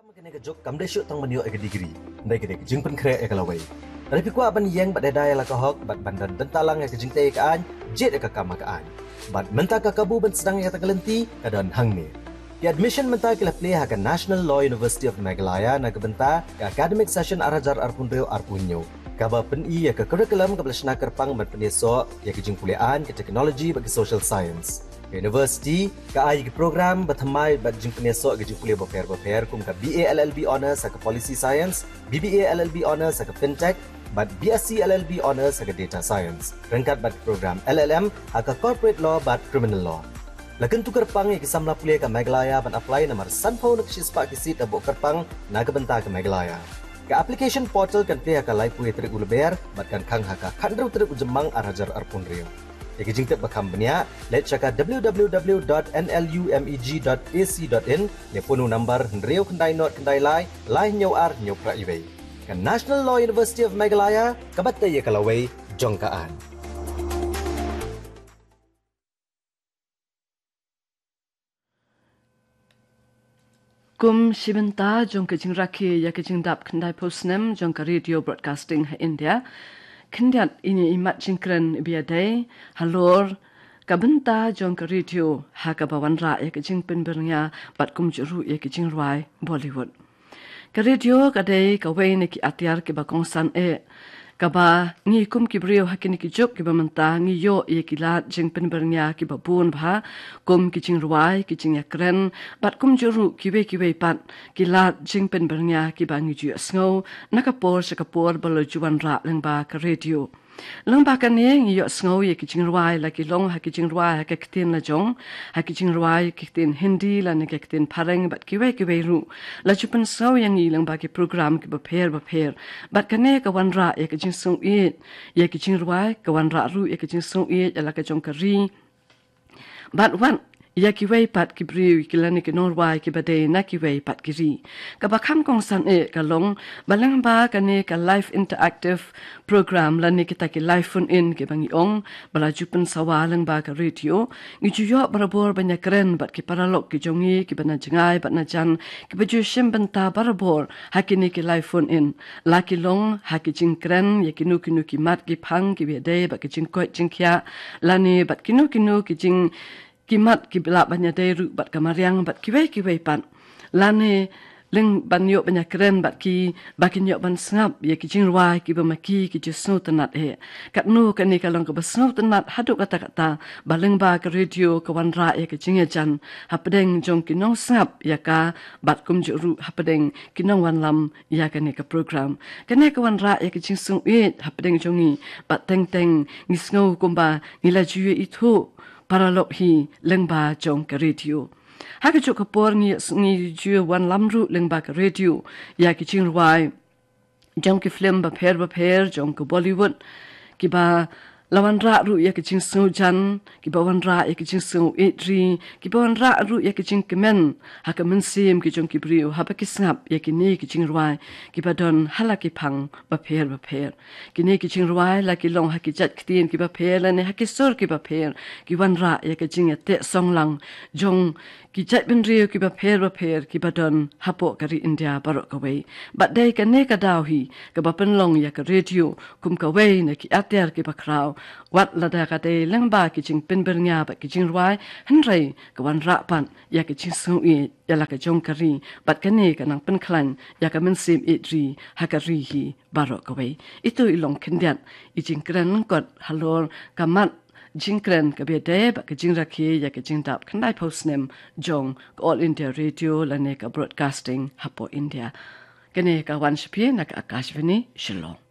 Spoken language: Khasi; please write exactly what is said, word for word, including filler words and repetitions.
Kane ka juk kam dei shuh tang ban ïoh ïa ka degree, hynrei ka dei ka jingpynkhreh ïa ka lawei. Lada phi kwah ban ïeng bad ïada ïa la ka hok bad ban don bynta lang ïa ka jingtei ka aiñ, jied ïa ka kam ha ka aiñ. Bad mynta ka kabu ban sdang ïa kata ka lynti ka don hangne. Ki admission mynta ki la plie ha ka National Law University of Meghalaya na ka bynta ka academic session ar hajar arphew hynriew arphew hynñiew, kaba pyni ïa ka curriculum kaba la shna kyrpang ban pynïasoh ïa ka jingpule aiñ, ka technology bad ka social science. Ka university ka ai ki program ba thymmai bad jingpynïasoh ka jingpule bapher bapher kum ka B A L L B Honours ha ka Policy Science, B B A L L B Honours ha ka Fintech, bad B Sc L L B Honours ha ka Data Science, ryngkat bad ka program L L M ha ka Corporate Law bad Criminal Law. La kyntu kyrpang ïa ki samla pule ka Meghalaya ban apply namar sanphew na ka shispah ki seat la buh kyrpang na ka bynta ka Meghalaya. Ka application portal kan plie ha ka laiphew tarik u Lber bad kan khang ha ka khathynriew tarik u Jymmang ar hajar arphew hynriew. Ïa ki jingtip ba kham bniah, leit sha ka W W W dot N L U M E G dot A C dot in, ne phone u number hynriew khyndai nod khyndai lai, lai hynñiew ar hynñiew phra iwei. Ka National Law University of Meghalaya, kaba tei ïa ka lawei jong ka aiñ. Kum shi bynta jong ka jingrakhe ïa ka jingdap khyndaiphew snem jong ka Radio Broadcasting ha India, khyndiat ine i mat jingkren ba ïadei halor ka bynta jong ka radio ha kaba wanrah ïa ka jingpynbyrngia bad kumjuh ruh ïa ka jingrwai Bollywood. Ka radio ka dei kawei na ki atiar kiba kongsan eh, kaba ngi kum ki briew ha kine ki juk kiba mynta ngi ïoh ïa ki lad jingpynbyrngia kiba bun bha, kum ki jingrwai, ki jingïakren, bad kumjuh ruh kiwei kiwei pat ki lad jingpynbyrngia kiba ngi ju ïohsngew na ka por sha ka por ba la ju wanrah lyngba ka radio. Lyngba kane ngi ïohsngew ïa ki jingrwai, la ki long ha ki jingrwai ha ka ktien lajong, ha ki jingrwai ha ka ktien Hindi lane ka ktien Phareng bad kiwei kiwei ruh. La ju pynsngew ïa ngi lyngba ki program kiba pher bapher. Bad kane ka wanrah ïa ka jingsngewbha ïa ki jingrwai, ka wanrah ruh ïa ka jingsngewbha ïa la ka jong ka ri. Bad wat ïa kiwei pat ki briew ki lane ki nongrwai kiba dei na kiwei pat ki ri. Kaba kham kongsan eh ka long ba lyngba kane ka live interactive program lane kita ki live phone in kiba ngi ong ba la ju pynsawa lyngba ka radio, ngi ju ïoh barabor ban ïakren bad ki paralok ki jong ngi kiba na jngai bad na jan, kiba ju shim bynta barabor ha kine ki live phone in. La ki long ha ki jingkren ïa kino kino ki mat ki phang kiba ïadei bad ki jingkoit jingkhiah, lane bad kino kino ki jing, ki mat kiba lah ban ïadei ruh bad ka mariang bad kiwei kiwei pat. Lane lyngba ban ïoh ban ïakren bad ki, ba kin ïoh ban sngap ïa ki jingrwai kiba ma ki ki ju sngewtynnat eh. Katno kane ka long kaba sngewtynnat haduh katta katta ba lyngba ka radio ka wanrah ïa ka jingïajan hapdeng jong ki nongsngap ïa ka bad kumjuh ruh hapdeng ki nongwanlam ïa kane ka program. Kane ka wanrah ïa ka jingsngewbha hapdeng jong ngi bad teng teng ngi sngew kumba ngi la ju ïa ithuh paralok hi lyngba jong ka radio. Ha ka juk ka por ngi, ngi ju wanlam ruh lyngba ka radio ïa ki jingrwai jong ki film bapher bapher jong ka Bollywood, kiba la wanrah ruh ïa ka jingsngewjan, kiba wanrah ïa ka jingsngewbha, kiba wanrah ruh ïa ka jingkmen ha ka mynsiem ki jong ki briew haba ki sngap ïa kine ki jingrwai kiba don ha la ki phang bapher bapher. Kine ki jingrwai la ki long ha ki jait ktien kiba pher lane ha ki sur kiba pher, ki wanrah ïa ka jingïateh song lang jong ki jaitbynriew kiba pher bapher kiba don hapoh ka ri India baroh kawei. Bad dei kane ka daw hi kaba pynlong ïa ka radio kum kawei na ki atiar kiba khraw, wat lada ka dei lyngba ki jingpynbyrngia bad ki jingrwai, hynrei ka wanrah pat ïa ka jingsngewbha ïa la ka jong ka ri. Bad kane ka nang pynkhlaiñ ïa ka mynsiem ïeit ri ha ka ri hi baroh kawei. Ito i long khyndiat i jingkren lyngkot halor ka mat jingkren kaba ïadei bad ka jingrakhe ïa ka jingdap khyndaiphew snem jong ka All India Radio lane ka broadcasting hapoh India. Kane ka wan sha phi na ka Akashvani Shillong.